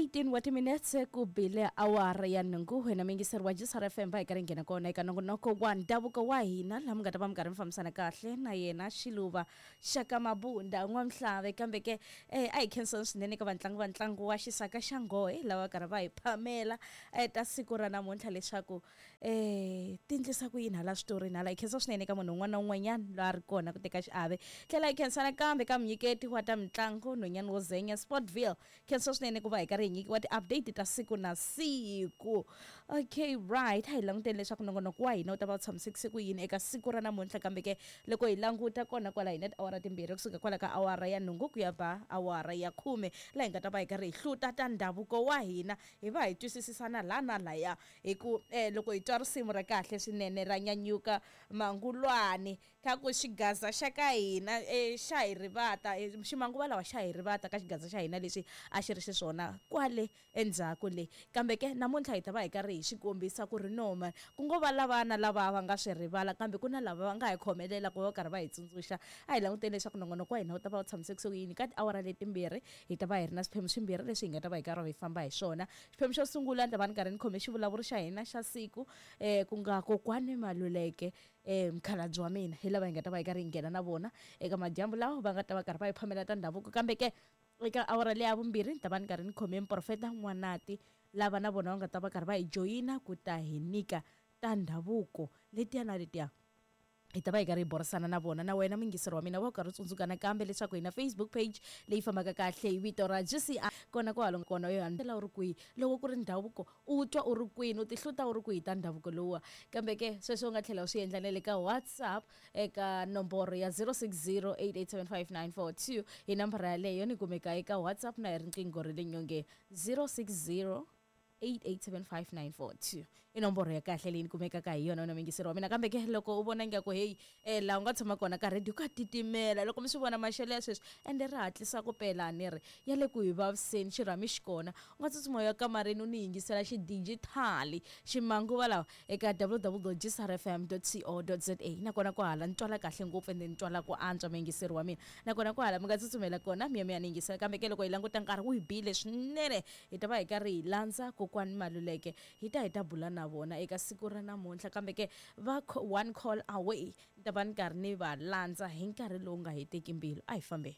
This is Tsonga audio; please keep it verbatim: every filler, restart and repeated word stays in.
eighteen wa timinetse ku bile awara ya nhungu. Wena muyingiseri wa G S R F M va hi karhi hi nghena kona eka nongonoko wa ndhavuko wa hina, laha mi nga ta va mi karhi mi fambisana kahle na yena Xiluva Xaka Mabunda N'wamhlave. Kambe ke eh, a hi khensani swinene ka vatlangi va ntlangu wa Xisaka xa Nghohe lava karhi va hi phamela eh, ta siku ra namuntlha leswaku eh, ti endlisa ku yini hala switorini hala. Hi khensa swinene ka munhu un'wana na un'wanyana loyi a ri kona ku teka xiave. Tlhela hi khensa nakambe ka munyiketi wa ta mitlangu nhwanyana wo zenya Sportville. Khensa swinene ku va hi karhi hi nyikiwa ti-update ta siku na siku. Okay, right, a hi languteni leswaku nongonoko wa hina wu ta va wu tshamisekise ku yini eka siku ra namuntlha. Kambe ke loko hi languta kona kwala hi na tiawara timbirhi kusuka kwala ka awara ya nhungu ku ya ba awara ya khume, laha hi nga ta va hi karhi hi hluta ta ndhavuko wa hina, hi va hi twisisisana laha na laya. Hi ku eh, loko hi twa risimu ra kahle swinene ra nyanyuka mangulwani ka ku xigaza xa ka hina eh, xa hi rivata eh, ximanguva lawa xa hi rivata ka xigaza xa hina lexi a xi ri xiswona kwale endzhaku le. Kambe ke namuntlha hi ta va hi karhi hi xi kombisa ku ri no man, ku ngo va lavana lava va nga swi rivala, kambe ku na lava va nga hi khomelela ku va karhi va hi tsundzuxa. A hi languteni leswaku nongonoko wa hina wu ta va wu tshamisekise ku yini ka tiawara letimbirhi. Hi ta va hi ri na swiphemu swimbirhi leswi hi nga ta va hi karhi hi famba hi swona. Xiphemu xo sungula ni ta va ni karhi ni khome xivulavuri xa hina xa siku eh, ku nga kokwani Maluleke eh, mukhalabye wa mina, hi lava hi nga ta va hi karhi hi nghena na vona eka madyambu lawa va nga ta va karhi va hi phamela ta ndhavuko. Kambe ke eka awara leya vumbirhi ni ta va ni karhi ni khome muprofeta N'wanati, lava na vona va nga ta va karhi va hi joyina ku ta hi nyika ta ndhavuko letiya na letiya. Hi ta va hi karhi hi burisana na vona. Na wena muyingiseri wa mina wa karhi u tsundzuka nakambe leswaku hi na Facebook page leyi fambaka kahle hi vito ra G C R kona kwalo kona yo handlela u ri kwihi loko ku ri ndhavuko u twa u ri kwini u tihluta u ri kwihi ta ndhavuko lowuwa. Kambe ke sweswo u nga tlhela u swi endla na le ka WhatsApp eka nomboro ya zero six zero eight eight seven five nine four two. Hi nambara yaleyo ni kumeka eka WhatsApp na hi riqingho ra le nyongeni zero six zero eight eight seven five nine four two. I nomboro ya kahle leyi ni kumekaka hi yona wena muyingiseri wa mina. Kambe ke loko u vona ingaku heyi eh, laha u nga tshama kona ka radio ka titimela loko mi swi vona maxelo ya sweswi ende ri hatlisa ku pela ni ri ya le ku hi vaviseni xirhami xi kona, u nga tsutsuma u ya kamareni u ni yingisela xidijithali ximanguva lawa eka w w w dot g s r f m dot co dot z a. Nakona kwahala ni twala kahle ngopfu ende ni twala ku antswa muyingiseri wa mina. Nakona kwahala mi nga tsutsumela kona mi ya mi ya ni yingisela. Kambe ke loko hi languta nkarhi wu hi bile swinene, hi ta va hi karhi hi landza kokwani Maluleke, hi ta hi ta bula na vona eka siku ra namuntlha. Kambe ke va one call away, ni ta va ni karhi ni va landza hi nkarhi lowu nga heteki mbilu. A hi fambeni.